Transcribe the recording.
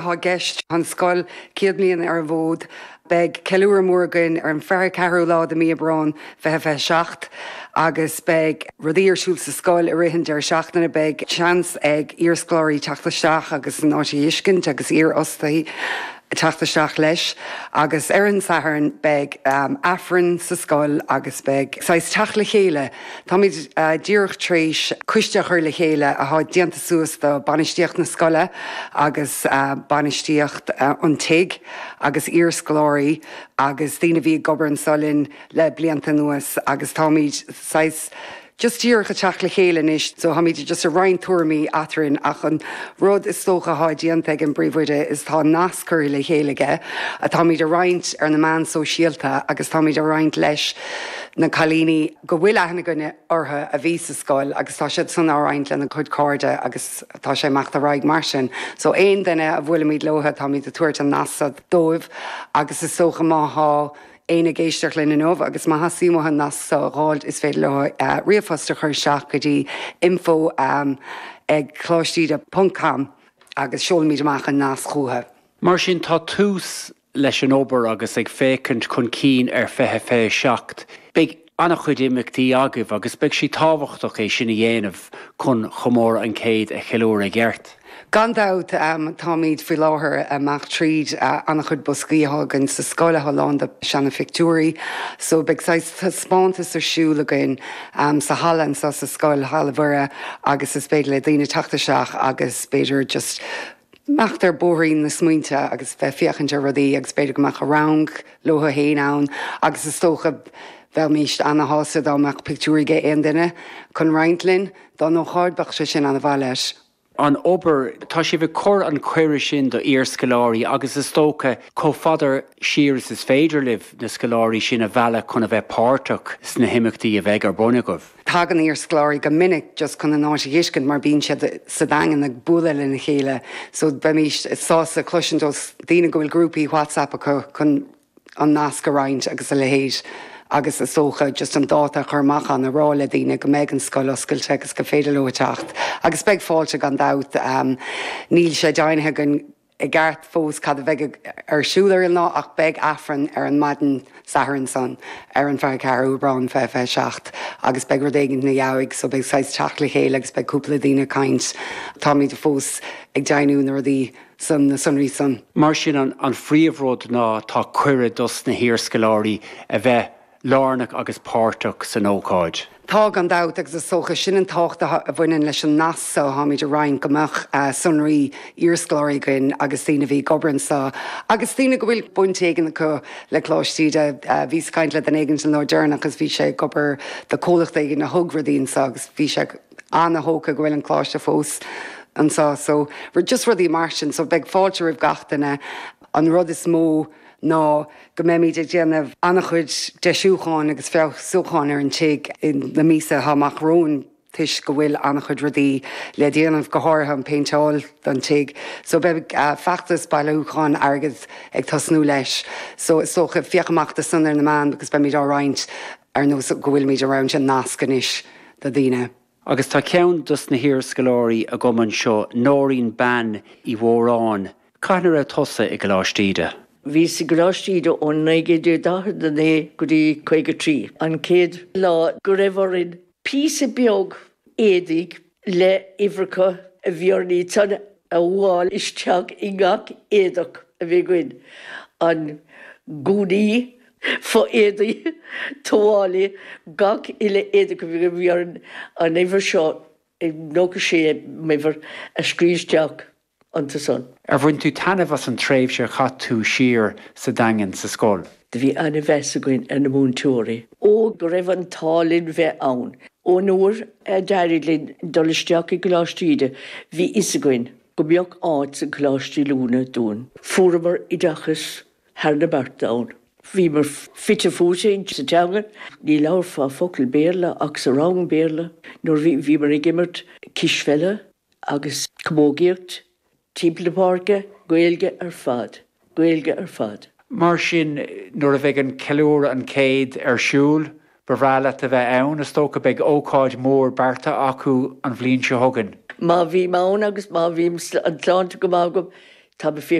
Atá i gceist. Tá an scoil 100 bliain ar an bhfód. Beidh ceiliúradh mór againn ar an 24ú lá de mí Aibreán 2027 agus beidh rudaí ar siúl sa scoil i rith an deireadh seachtaine. Beidh seans ag iarscoláirí teacht isteach agus an áit a fheiscint agus iarfhostaithe teacht isteach leis. Agus ar an Satharn beidh Aifreann sa scoil agus beidh saghas teacht le chéile. Táimid díreach tar éis coiste a chur le chéile atá déanta suas de bainistíocht na scoile agus bainistíocht an tigh agus iarscoláirí agus daoine a bhí ag obair anseo linn le blianta anuas agus táimid saghas just díreach ag teacht le chéile anois so táimid just ag roinnt tuairimí eadrainn ach an rud is dócha atá déanta ag an bpríomhoide is tá nasc curtha le chéile aige atáimid a roinnt ar na meáin sóisialta agus táimid a roinnt leis na cailíní go bhfuil aithne againne orthu a bhí sa scoil agus tá siad san á roinnt lena gcuid cairde agus tá sé ag imeacht ar aghaidh mar sin. So aon duine a bhuailimid leo táimid ag tabhairt an nasc seo dóibh agus is dócha má thá éinne ag éisteacht linn inniu agus má theastaíonn uathu an nasc seo a dh'fháilt is féidir leo ríomhphost a chur isteach go dtí info ag coláisteíde ponc com agus seolfaimid amach an nasc chucu. Mar sin tá tús leis an obair agus ag féachaint chun cinn ar 2027, beidh an-chuid imeachtaí agaibh agus beidh sé tábhachtach é sin a dhéanamh chun chomóradh an chéid a cheiliúradh i gceart. Gan dabht, táimid faoi láthair ag imeacht tríd an-chuid boscaí atá againn sa scoil atá lán de seana-phictiúirí so beidh saghas taispeántas ar siúl againn sa halla anseo sa scoil, Halla Mhuire, agus is féidir le daoine teacht isteach agus b'fhéidir just imeacht ar bóithrín na smaointe agus bheith féachaint ar rudaí agus b'fhéidir go mbeadh rang leo féin ann agus is dócha bheimís ana-shásta dá mbeadh pictiúirí ag aon duine chun roinnt linn dá n-ócáid, bheadh sé sin ana-mhaith leis. An obair, tá sibh ag cur an cuireadh sin do iarscoláirí agus is dócha chomh fada siar is is féidir libh na scoláirí sin a mhealladh chun a bheith páirteach sna himeachtaí a bheidh ar bun agaibh. Tagann iarscoláirí go minic just chun an áit a fheiscint mar bíonn siad sa Daingean ag bualadh lena chéile so beimís sásta cloisint ó daoine go bhfuil grúpaí WhatsApp acu chun an nasc a roinnt agus a leithéid agus is dócha just an dáta a chur amach ann a rá le daoine go mbeidh an scoil oscailte agus go féidir leo teacht agus beidh fáilte gan dabht. Níl sé deimhnithe againn i gceart fós cad a bheidh ar siúl ar an lá ach beidh Aifreann ar an maidin Sathairn san ar an 24 Aibreán 2027 agus beidh rud éigin ina dhiaidh so beidh saghas teacht le chéile agus beidh cúpla daoine ag caint. Táimid fós ag deimhniú na rudaí san, na sonraí san. Mar sin an phríomhrud ná tá cuireadh dos na hiarscoláirí a bheith lárnach agus páirteach san ócáid. Tá, gan dabht, agus is dócha sin an tábhacht a bhaineann leis an nasc seo atáimid a roinnt, go mbeadh sonraí iarscoláirí againn agus daoine a bhí ag obair anseo agus daoine go bhfuil baint éigin acu le Coláiste Íde. Bhíos ag caint le duine éigin an lá deireanach agus bhí sé ag obair do comhlacht éigin a thug rudaí anseo agus bhí sé ana-thógtha go bhfuil an coláiste fós anseo. So, just rudaí mar sin. So beidh fáilte roimh gach duine. An rud is mó ná go mbeimid ag déanamh an-chuid deisiúcháin agus feabhsúcháin ar an tigh na míosa atá amach romhainn toisc go bhfuil an-chuid rudaí le déanamh, go háirithe an péinteáil don tigh. So beidh feachtas bailiúcháin airgid ag tosnú leis. So is dócha féach amach do san ar na meáin agus beimid á roinnt ar nós go bhfuilimid ag roinnt an nasc anois do daoine. Agus tá ceann dos na hiarscoláirí agam anseo, Nóirín Bean Uí Mhóráin. Cathain a raibh tusa i gColáiste Íde? Bhíos i gColáiste Íde ó 1949 go dtí 53. An chéad lá go raibh orainn píosa beag éadaigh le uimhreacha a bhí orainn iad san a fhuáil isteach i ngach éadach a bhí againn, an gúnaí, fo-éadaí, tuáillí, gach uile éadach a bhí againn, bhí orainn an uimhir seo, 96 m'uimhir, a scríobh isteach iontu san. Ar bhain tú taitneamh as an tréimhse a chaith tú siar sa Daingean sa scoil? Do bhí ana-mheas againn ar na múinteoirí. Ó go raibh an t-ádh linn bheith ann. Ón uair a d'éirigh linn dul isteach i gColáiste Íde bhí fhios againn go mbeadh áit sa Choláiste Oiliúna dúinn. Fuaireamar oideachas thar na bearta ann. Bhíomar fite fuaite sa teanga. Ní labharfá focal Béarla ach sa rang Béarla nuair a bhíomar ag imirt cispheile agus camógaíocht timpeall na páirce, Gaeilge ar fad, Gaeilge ar fad. Mar sin, nuair a bheidh an ceiliúradh an chéid ar siúl, ba bhreá leat a bheith ann, is dócha. Beidh ócáid mhór beartaithe acu an bhliain seo chugainn. Má bhím ann agus má bhím an tsláinte go maith agam, Tá mé.